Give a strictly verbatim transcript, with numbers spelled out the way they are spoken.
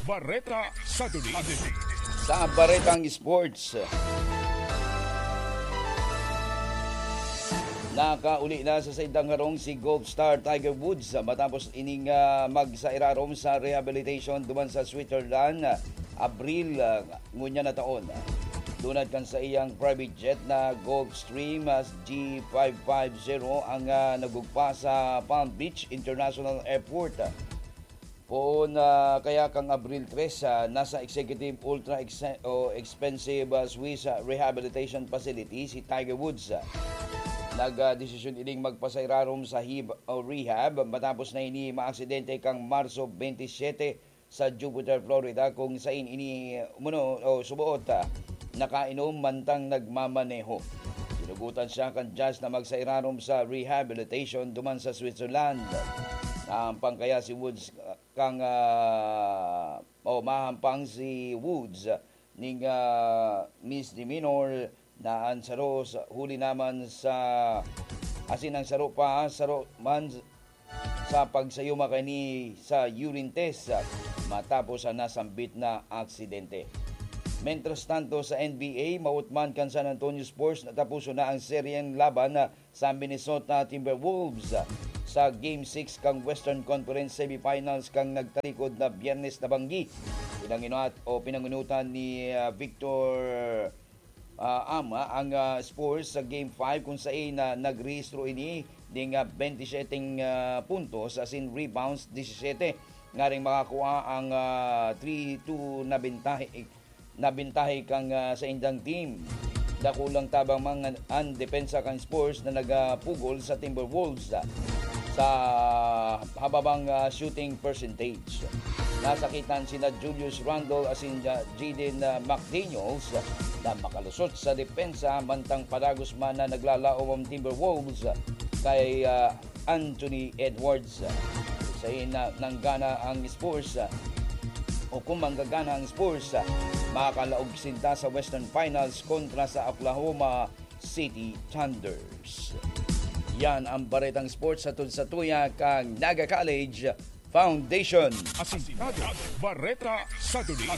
Bareta Saturday. Sa Baretang Sports, nakauli na sa saindang harong si golf star Tiger Woods matapos ining, ah, magsairarom sa rehabilitation duman sa Switzerland, ah, Abril, ah, ngunyan na taon. Dunad kan saiyang private jet na Gulfstream, ah, G five five zero ang, ah, nagugpa sa Palm Beach International Airport. Poon, ah, kaya kang Abril tres, ah, nasa executive ultra ex-, o expensive, ah, Swiss, ah, rehabilitation facility si Tiger Woods. Nag, ah, desisyon ining magpasairarom sa hib-, o rehab matapos na ini maaksidente kang Marso twenty-seven sa Jupiter, Florida, kung sain ini, umano, o suboot, ah, nakainom mantang nagmamaneho. Sinugutan siya kan judge na magsairarom sa rehabilitation duman sa Switzerland. Nahampang kaya si Woods, ah, kang, ah, o mahampang si Woods ning, ah, misdemeanor na an saro sa, huli naman sa, asin ang saro pa, saro man sa pagsayuma kaini sa urine test, ah, matapos ang nasambit na aksidente. Mientras tanto, sa N B A, mautman kan San Antonio Spurs na tapuson na ang seryeng laban, ah, sa Minnesota Timberwolves, ah, sa Game six kang Western Conference Semifinals kang nagtalikod na Biyernes na banggi. Pinanginat o pinanginutan ni, ah, Victor, ah, Ama ang, ah, Spurs sa Game five, kung sain na nagrehistro ini ning, ah, twenty-seven, ah, puntos asin rebounds, disisete, ngaring makakua ang, ah, three two na bentahe, na bentahe kang, ah, saindang team. Dakulang tabang man an depensa kan Spurs na nagapugol sa Timberwolves, ah, sa hababang, ah, shooting percentage. Nasakitan sina Julius Randle asin, ah, Jaden, ah, McDaniels, ah, na makalusot sa depensa, mantang padagos man na naglalaom ang Timberwolves, ah, kay, ah, Anthony Edwards. Sain na nanggana ang Spurs, o kung manggagana ang Spurs, makakalaog sinda sa Western Finals kontra sa Oklahoma City Thunders. Yan ang Baretang Sports hatod sa tuya kang Naga College Foundation. Asintado, Bareta Saturday.